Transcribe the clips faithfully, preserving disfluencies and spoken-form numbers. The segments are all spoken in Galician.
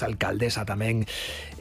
alcaldesa tamén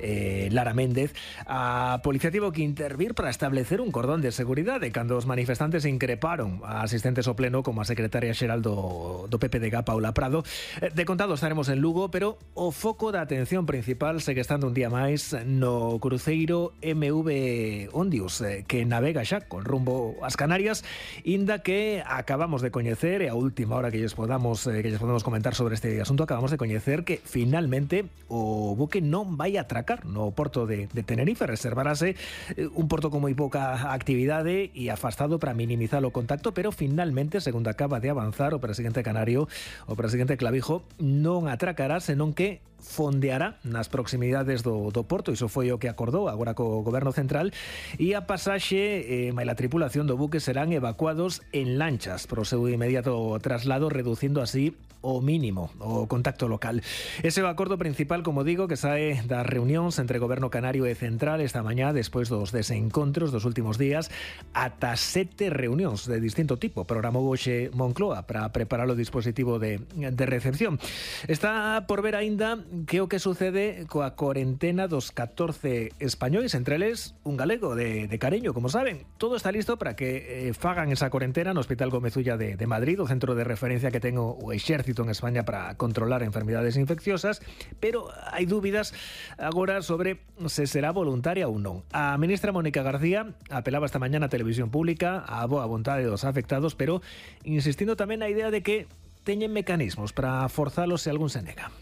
eh, Lara Méndez. A policía tivo que intervir para establecer un cordón de seguridade cando os manifestantes increparon a asistentes ao pleno como a secretaria xeral do, do P P de G, Paula Prado. De contado estaremos en Lugo, pero o foco da atención principal segue estando un día máis no cruceiro M V Ondius, que navega xa con rumbo ás Canarias, inda que acabamos de coñecer, e a última hora que lles podamos, que lles podemos comentar sobre este asunto, acabamos de coñecer que finalmente o buque non vai atracar no porto de, de Tenerife. Reservarase un porto con moi pouca actividade e afastado para minimizar o contacto, pero finalmente, segundo acaba de avanzar o presidente canario, o presidente Clavijo, non atracará, senón que fondeará nas proximidades do, do porto. Iso foi o que acordou agora co goberno central, e a pasaxe e eh, a tripulación do buque serán evacuados en lanchas pro seu inmediato traslado, reducindo así o mínimo o contacto local. Ese é o acordo principal, como digo, que sae das reunións entre goberno canario e central esta mañá, despois dos desencontros dos últimos días. Ata sete reunións de distinto tipo programou hoxe Moncloa para preparar o dispositivo de, de recepción. Está por ver aínda que o que sucede coa cuarentena dos catorce españois, entre eles un galego de, de Careño, como saben. Todo está listo para que eh, fagan esa cuarentena no Hospital Gómez Ulla de, de Madrid, o centro de referencia que ten o exército en España para controlar enfermedades infecciosas, pero hai dúbidas agora sobre se será voluntaria ou non. A ministra Mónica García apelaba esta mañá na televisión pública á boa vontade dos afectados, pero insistindo tamén na idea de que teñen mecanismos para forzalos se algún se nega.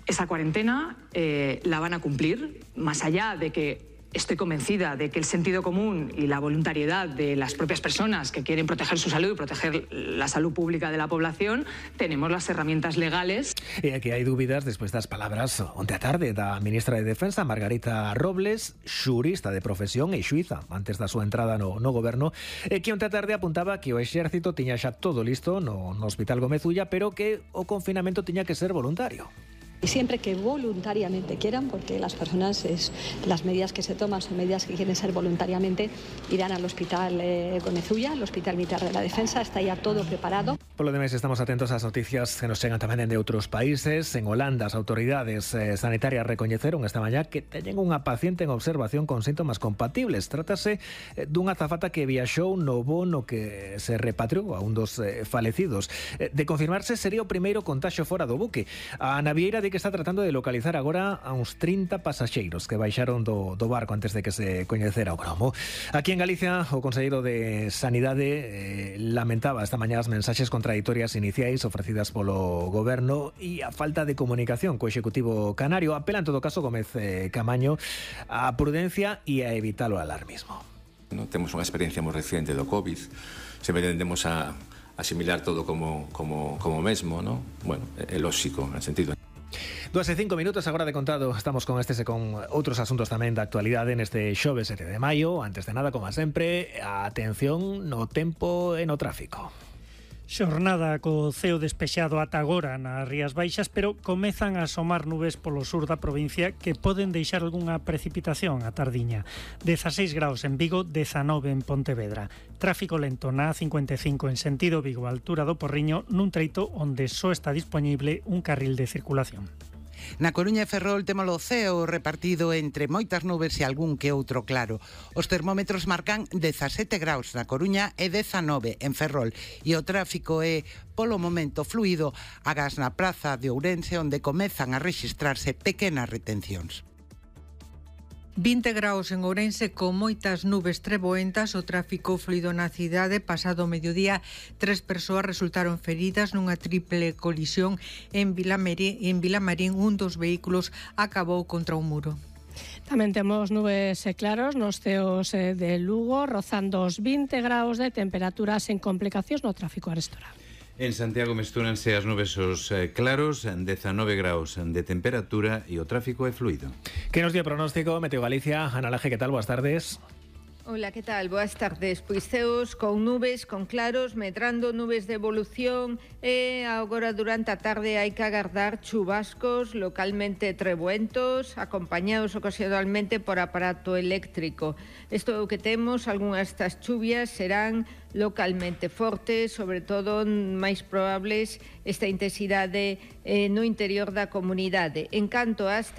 Esa cuarentena eh, la van a cumplir, más allá de que estoy convencida de que el sentido común y la voluntariedad de las propias personas que quieren proteger su salud y proteger la salud pública de la población, tenemos las herramientas legales. E aquí hai dúbidas despois das palabras onte a tarde da ministra de Defensa, Margarita Robles, xurista de profesión e xuíza antes da súa entrada no, no goberno, e que onte a tarde apuntaba que o exército tiña xa todo listo no, no Hospital Gómez Ulla, pero que o confinamento tiña que ser voluntario. Y siempre que voluntariamente quieran, porque las personas, es, las medidas que se toman son medidas que quieren ser voluntariamente, irán al Hospital eh, Gómez Ulla, al Hospital Militar de la Defensa, está ya todo preparado. Por lo demais, estamos atentos ás noticias que nos chegan tamén de outros países. En Holanda, as autoridades eh, sanitarias recoñeceron esta mañá que teñen unha paciente en observación con síntomas compatibles. Trátase eh, dunha azafata que viaxou no voo no que se repatriou a un dos eh, falecidos. Eh, de confirmarse, sería o primeiro contaxio fora do buque. A navieira de que está tratando de localizar agora a uns trinta pasaxeiros que baixaron do, do barco antes de que se coñecera o gromo. Aquí en Galicia, o conselleiro de Sanidade eh, lamentaba esta mañá as mensaxes contraditorias iniciais ofrecidas polo goberno e a falta de comunicación co Executivo Canario. Apela en todo caso Gómez eh, Camaño a prudencia e a evitar o alarmismo. No, temos unha experiencia moi reciente do COVID, sempre tendemos a asimilar todo como, como, como mesmo, ¿no? Bueno, é lóxico, en sentido. Dúas e cinco minutos agora de contado. Estamos con estes e con outros asuntos tamén da actualidade neste xoves sete de maio. Antes de nada, como sempre, a atención no tempo e no tráfico. Xornada co ceo despexado ata agora nas Rías Baixas, pero comezan a asomar nubes polo sur da provincia que poden deixar algunha precipitación a tardiña. dezaseis graus en Vigo, dezanove en Pontevedra. Tráfico lento na A cincuenta e cinco en sentido Vigo, a altura do Porriño, nun treito onde só está disponible un carril de circulación. Na Coruña e Ferrol temos o ceo repartido entre moitas nubes e algún que outro claro. Os termómetros marcan dezasete graus na Coruña e dezanove en Ferrol. E o tráfico é, polo momento, fluido agás na praza de Ourense, onde comezan a rexistrarse pequenas retencións. vinte graus en Ourense con moitas nubes treboentas, o tráfico fluido na cidade. Pasado o mediodía, tres persoas resultaron feridas nunha triple colisión en Vilamarín, en Vilamarín un dos vehículos acabou contra un muro. Tamén temos nubes e claros nos ceos de Lugo, rozando os vinte graus de temperatura sen complicacións no tráfico arestorado. En Santiago mestúranse as nubes os eh, claros, dezanove graus de temperatura e o tráfico é fluido. Que nos dio pronóstico Meteo Galicia? Ana Laje, que tal? Boas tardes. Ola, que tal? Boas tardes. Pois ceos con nubes, con claros, medrando nubes de evolución e agora durante a tarde hai que agardar chubascos localmente trebuentos, acompañados ocasionalmente por aparato eléctrico. Isto é o que temos, algunhas destas chuvias serán localmente fortes, sobre todo máis probables esta intensidade eh, no interior da comunidade. En canto ás